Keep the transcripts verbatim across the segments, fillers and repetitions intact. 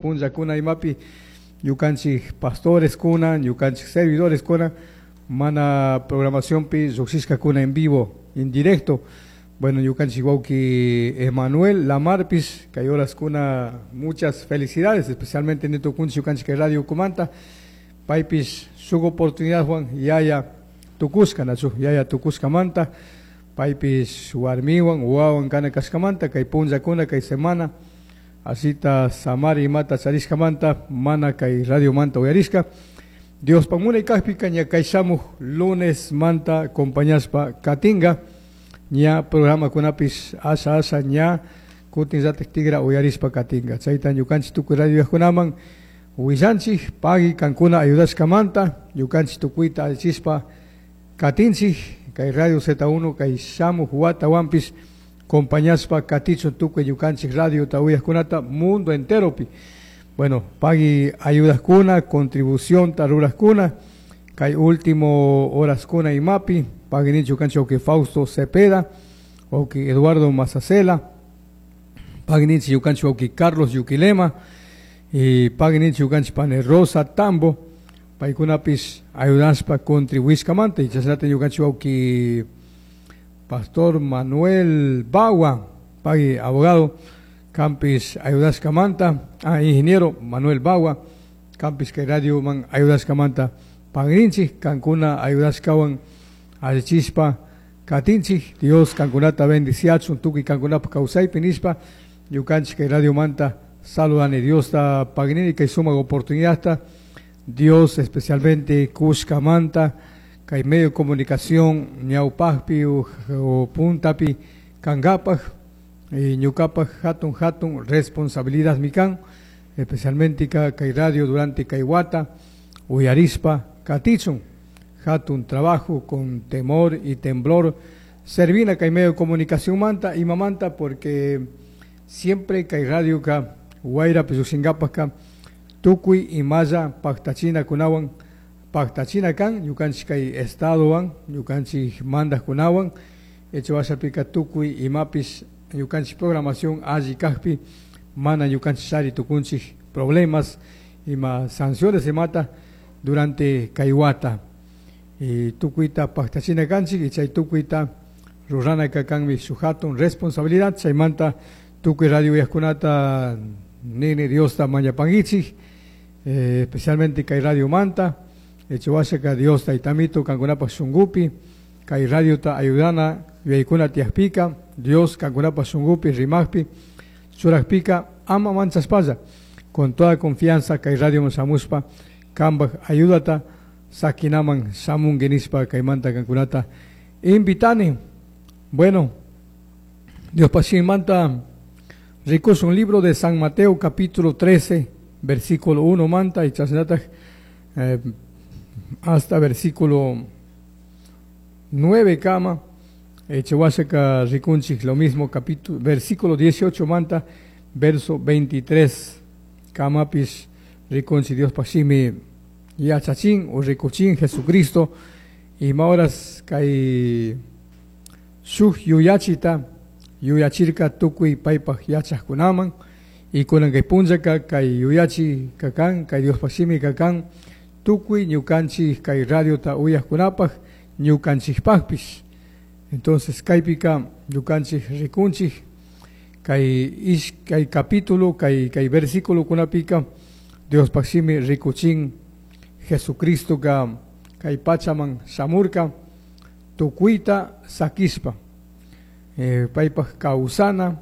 Punllakuna imapi ñukanchik pastores kuna, ñukanchik servidores kuna, mana programacionpi lluqshishkakuna en vivo, en directo. Bueno, ñukanchik wawki Emanuel Lamarpis, kay horaskuna muchas felicidades, especialmente nitukunchik ñukanchik kay radio ukumanta, paypis shuk oportunidad Juan yaya tukushka, nachu yaya tukushkamanta, paypis warmiwan wawan kana kashkamanta, kay punllakuna kay semana, asita samari imata charishkamanta, mana kay radio manta uyarishka. Dios munay kajpika ña kay shamuj lunes manta acompañashpa katinga, ña programa kunapis asha asha ña kutin ratik tigra uyarishpa katinga. Chayta ñukanchik tukuy radio kunaman willanchik pagui kankuna ayudashkamanta, ñukanchik tukuyta allichispa katinchik kay radio Z uno kay shamuj watawanpis compañashpa katichun tukuy ñukanchik radio ta uyajkunata mundo enteropi. Bueno, pagui ayudaskuna, contribución ta ruraskuna, kay último horaskuna imapi, pagui ninchik ñukanchik wawki Fausto Cepeda, wawki Eduardo Mazacela, pagui ninchik ñukanchik wawki Carlos Yuquilema, y pagui ninchik ñukanchik pani Rosa Tambo, paykunapis ayudashpa contribuishkamanta, y chashnata ñukanchik wawki Pastor Manuel Bagua, pagui abogado, campis ayudashkamanta, ah, ingeniero Manuel Bagua, campis kay radio man ayudashkamanta, pagrinchik, kankuna ayudashkawan allichispa katinchik, Dios kankunata bendiciachun, tukuy kankunapa kawsaypi nishpa, ñukanchik kay radio manta saludani, Dios ta pagnini kay sumak oportunidadta, Dios especialmente kushkamanta, kay medio de comunicación ñawpajpi o, o puntapi kankapaj, y ñukapaj hatun hatun responsabilidad mikan, especialmente ka kay radio durante kay wata, uyarispa katichun, hatun trabajo con temor y temblor, servina kay medio de comunicación manta y mamanta, porque siempre kay radio ka wayra llukshinkapaj ka tukuy imalla paktachina kunawan paktachina kan, ñukanchik kay estadowan, ñukanchik mandajkunawan, hecho wasapika tukuy imapis ñukanchik programación alli kajpi, mana ñukanchik chari tukunchik problemas ima sanciones imata durante kay wata. Y tukuyta paktachina kanchik y chay tukuyta rurana kanmi shuk hatun responsabilidad, chaymanta tukuy radio uyajkunata nini Diosta mañapankichik, eh, especialmente kay radio manta, hecho wasaka Dios taytamito kankunapaj shunkupi, kay radiota ayudana yuyaykuna tiyakpika, Dios kankunapaj shunkupi rimakpi churakpika ama manchashpalla, con toda confianza kay radio shamushpa kanpaj ayudata sakinaman shamunki nishpa kaymanta kankunata invitani. Bueno, Dios manta rikushun libro de San Mateo capítulo trece versículo uno manta y chasnataj, eh, hasta versículo nueve kama, Echehuaseca rikunchik lo mismo capítulo versículo dieciocho manta verso veintitrés kamapis rikunchik Dios pashimi yachachin o rikuchin Jesucristo y maoras kay shuk yuyachita yuyachirka tukuy paypaj yachajkunaman y kunan kay punllaka kay yuyachi kakan kay Dios pashimi kakan tukuy ñukanchik kay radiota uyajkunapaj ñukanchikpajpis. Entonces kaypika ñukanchik rikunchik kay ish kay capítulo kay kay versículo kunapika Dios pashimi rikuchin Jesucristo ka kay pachaman shamurka tukuyta sakishpa, eh, paypaj kawsana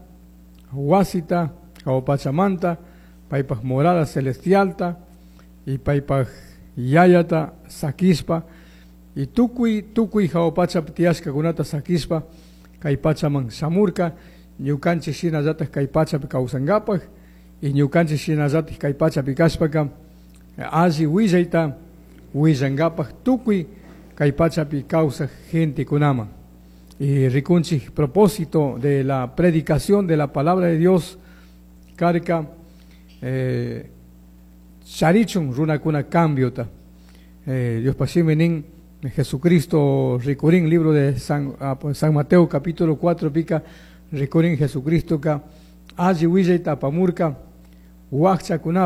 wasita kawpachamanta paypaj morada celestialta y paypaj yayata sakishpa y tukuy tukuy jawpachapi tiyashkakunata sakishpa kay pachaman shamurka ñukanchik shinallataj kay pachapi kawsankapaj y ñukanchik shinallataj kay pachapi kashpaka alli willayta willankapaj tukuy kay pachapi kawsaj gentekunaman. Y rikunchik propósito de la predicación de la palabra de Dios karka, eh, charichun runakuna cambiota. Eh, Dios pashimi nin Jesucristo rikurin libro de San, ah, San Mateo capítulo cuatro pica rikurin Jesucristo ka alli willayta apamurka Huajchakunapaj.